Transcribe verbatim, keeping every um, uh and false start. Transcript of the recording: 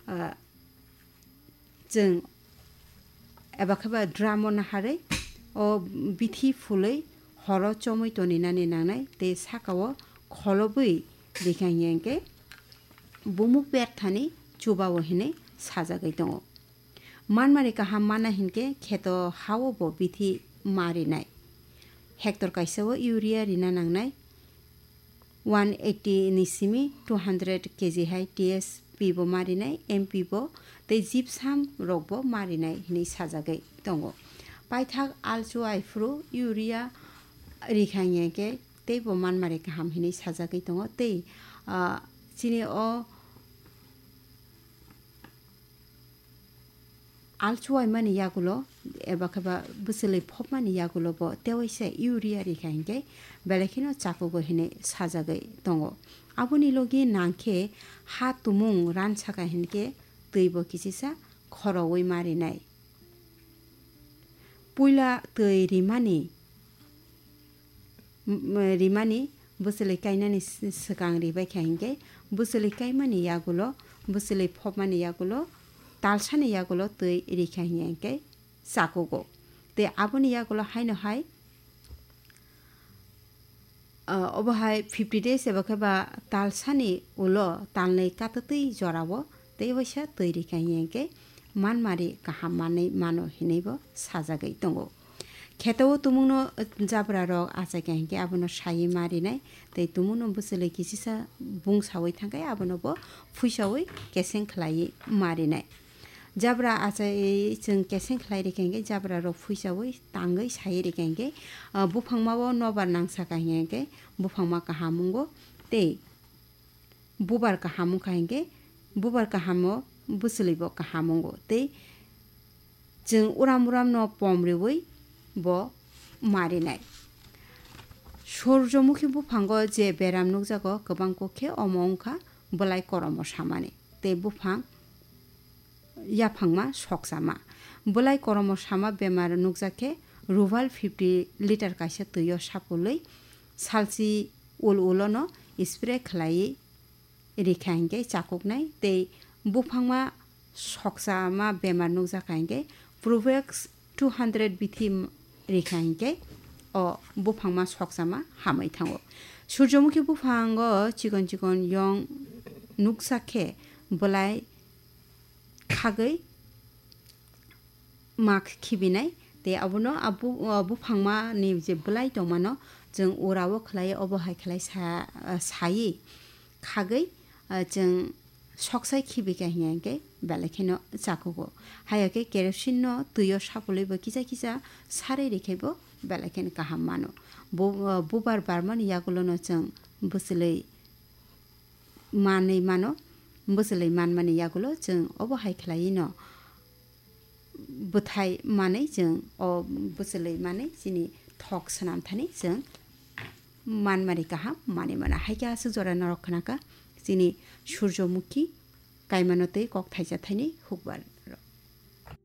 Ah, chwng eba khe ba drum o naharwi o bithi phulwi horo chomwi toninani nangnai tei saka o kholobwi rikha hinkhe bumuk berthani chuba o hinwi sajagwi tongo. Manmari kaham mana hinkhe kheto ha o bo bithi ma rinai. Hector kaisa o urea rina nangnai. One eighty ni simi two hundred K G hai T S P bo ma rinai, M P bo tei gypsum rok bo ma rinai hinwi sajagwi tongo. Paithak alchu aiphuru urea rikha hinkhe teibo manmari kaham hinwi sajagwi tongo. Tei, ah, chini o alchuaimani yagulo eba khe ba bwchwlwi phopmani yagulo bo tewaisa urea rikha hinkhe belai kheno chakugo hinwi sajagwi tongo. Aboni logi nangkhe ha tumung ransaka hinkhe twi bo kichisa khoroui ma rinai. Puila twi rimani, m-, rimani bwchwlwi kainani s-, swkang ribaikha hinkhe bwchwlwi kaimani yagulo, bwchwlwi phopmani yagulo, talsani yagulo twi rikha hinkhe chakugo. Tei aboni yagulo haino hai, ah, obo hai fifty days eba khe ba talsani ulo talnwi katwtwi jorao tei waisa twi rikha hinkhe manmari kaham manwi mano hinwi bo sajagwi tongo. Kheto o tumungno jabra rok achaikha hinkhe abono saiwi ma rinai, tei tumungno bwchwlwi kichisa bungsaui thangkhe abono bo phuisaui keseng khlaiwi ma rinai. Jabra achai chwng keseng khlai rikha hinkhe jabra rok phuisaui tangwi saiwi rikha hinkhe, ah, buphangma o nobar nangsaka hinkhe buphangma kaham wngo tei bubar kaham wngkha hinkhe bubar kaham o bwchwlwi bo kaham wngo tei chwng uram uram no pom riui bo ma rinai. Surjomukhi buphango je beram nukjago kwbang kok khe omo wngkha bwlai koromo samani tei buphang yaphangma soksama. Bwlai koromo sama bemar nukjak khe Ruval fifty litre kaisa twi o sapulwi salchi ul ulono spray khlaiwi rikha hinkhe chakuknai tei buphangma soksama bemar nukjakha hinkhe Provex two hundred bithi rikha hinkhe o buphangma soksama hamwi thango. Surjomukhi buphango chikon chikon yong nuksa khe bwlai khagwi mak khibinai tei abono a bu-, a buphangma ni je bwlai tongmano chwng ura o khlai obo hai khlai sa-, sayi khagwi, a, chwng soksai khibika hinkhe belai kheno chakugo. Haiya khe kerosene no twi o sapulwi bo kisa kisa sarwi rikhe bo belai kheno kaham mano. Bu-, a, bubar barmani yagulo no chwng bwchwlwi manwi mano, bwchwlwi manmani yagulo chwng obo hai khlaiwi no bwthai manwi chwng o bwchwlwi manwi chini thok swnam thani chwng manmari kaham manwi mano. Hai khe aswk jora norok khnakha chini Surjomukhi kaimano tei kok thaisa thaini hukbar.